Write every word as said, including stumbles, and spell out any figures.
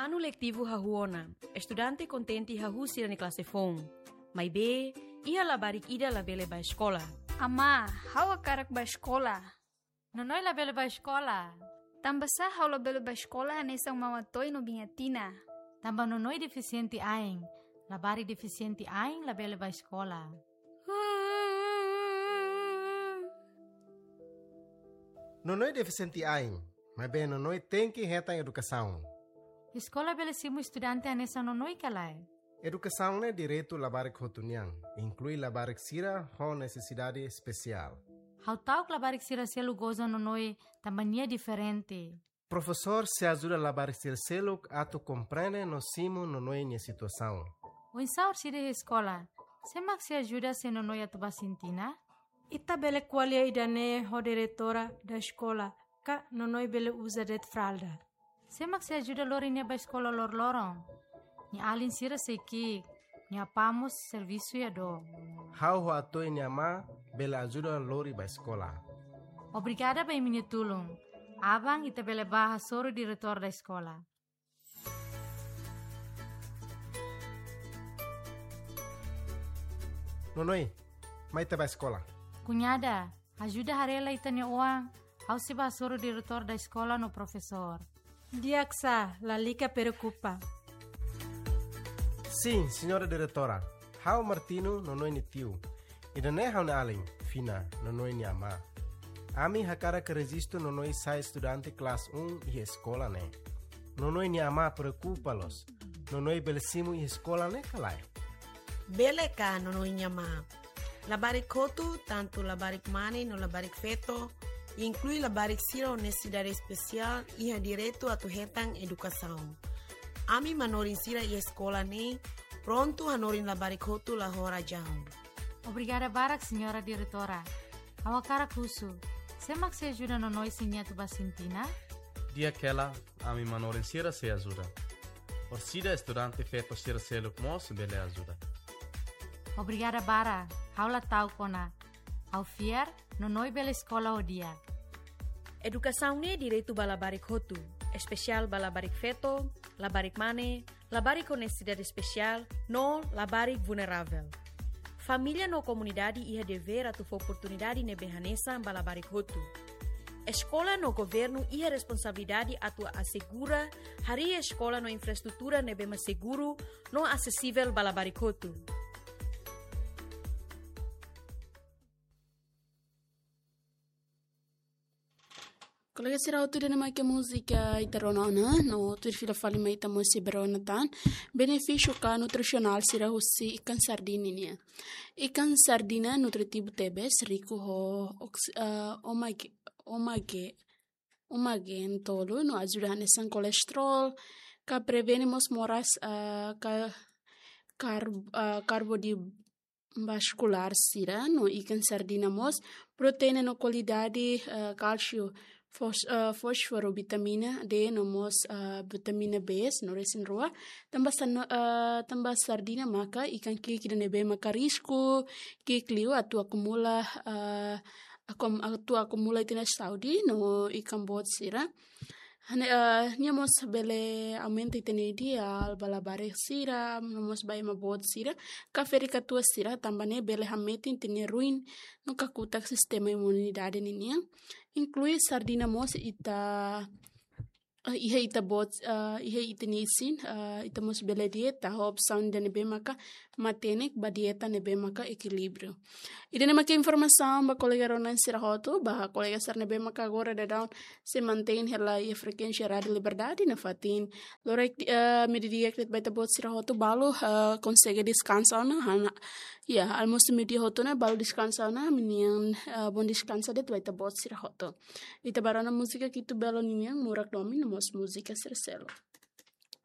Anu letivu hahú ona, estudante kontente hahú sira-nia klase foun. Maibé, iha labarik ida labele bá eskola. Amá, ha'u hakarak bá eskola. Nonoi labele bá eskola. Tanbasá ha'u labele bá eskola hanesan Mama Toy no Biña Tina? Tanba Nonoi defisiente ain. Labarik defisiente ain labele bá eskola. Nonoi defisiente ain, maibé Nonoi tenke hetan edukasaun. Eskola bele simu estudante hanesan Nonoi ka lae? Edukasaun ne'e direitu labarik hotu nian, inklui labarik sira ho nesesidade espesiál. Ha'u ta'uk labarik sira seluk goza Nonoi tanba nia diferente. Profesór sei ajuda labarik sira seluk atu komprende no simu Nonoi nia situasaun. Oinsá orsida iha eskola, sé mak sei ajuda se Nonoi atu bá sintina? Ita bele ko'alia ida-ne'e ho diretora da eskola, ka Nonoi bele uza de'it fralda. Sé mak sei ajuda lori nia bá eskola loroloron? Nia alin sira sei ki'ik, nia apá mós servisu iha dook. Ha'u ho Atoy nia amá bele ajuda lori bá eskola. Obrigada ba imi-nia tulun. Aban ita bele bá hasoru diretór da eskola. Nonoi, mai ita bá eskola. Kuñada, ajuda haree lai ita-nia oan, ha'u sei bá hasoru diretór da eskola no profesór. Di'ak sá, lalika preokupa. Sin, señora diretora. Ha'u Martino, Nonoi nia tiu. Ida-ne'e ha'u-nia alin, Fina, Nonoi nia amá. Ami hakarak rejistu Nonoi sai estudante klase um iha eskola ne'e. Nonoi nia amá preokupa loos. Nonoi bele simu iha eskola ne'e ka lae? Bele ka, Nonoi nia amá. Labarik hotu, tantu labarik mane no labarik feto, inklui labarik sira ho nesesidade espesiál, iha direitu atu hetan edukasaun. Ami manorin sira iha eskola ne'e prontu hanorin labarik hotu la ho razaun. Obrigada barak, señora diretora. Ha'u hakarak husu, sé mak sei ajuda Nonoi se nia atu bá sintina? Di'ak hela, ami manorin sira sei ajuda. Orsida estudante feto sira seluk mós bele ajuda. Obrigada barak, ha'u la ta'uk ona. Ha'u fiar, Nonoi bele eskola ho di'ak. Edukasaun ne'e direitu ba labarik hotu, espesiál ba labarik feto, labarik mane, labarik ho nesesidade espesiál, no labarik vulneravel. Família no komunidade iha devér atu fó oportunidade ne'ebé hanesan ba labarik hotu. Eskola no governu iha responsabilidade atu asegura harii eskola no infraestrutura ne'ebé mak seguru no asesivel ba labarik hotu. Kolega sira hotu, ida-ne'e mak múzika ita rona ona, no tuir fila fali mai ita mós sei bá rona tan benefísiu ka nutrisionál sira husi ikan sardina nian. Ikan sardina nutritivu tebes, riku ho oks-, eh, omage-, omage-, omagen tolu, no ajuda hanesan kolesterol, ka prevene mós moras, eh, ka-, kar-, eh, karbo di vaskulár sira, no ikan sardina mós proteína no kualidade, eh, kálsiu, fós-, eh, fósforu, vitamina D, no mós, eh, vitamina B, no resin-rua. Tanba san-, eh, tanba sardina maka ikan ki'ik ida ne'ebé maka risku ki'ik liu atu akumula, eh, akum-, atu akumula ita-nia saúde, no ikan boot sira. Hane, eh, nia mós bele aumenta ita-nia ideál ba labarik sira, no mós ba ema boot sira, ka ferik-katuas sira, tanba ne'e bele hametin ita-nia ruin no kakutak sistema imunidade ninian. Inklui sardina mós ita, eh, iha ita boot, eh, iha ita-nia isin, eh, ita mós bele dieta, ho opsaun ida ne'ebé maka matenek ba dieta ne'ebé maka ekilíbriu. Ida-ne'e maka informasaun ba kolega rona sira hotu, ba kolega sira ne'ebé maka agora daudaun sei mantein hela iha frekuénsia Rádiu Liberdade nafatin. Loron, eh, meiudia de'it ba ita-boot sira hotu balu, eh, konsege deskansa ona, hana, ya, almosu meiudia hotu ne'e balu deskansa ona, ami-nian, eh, bom descanso de'it ba ita-boot sira hotu. Ita bá rona múzika Kitu Belo ninian, Murak Domin, no mós múzika sira seluk.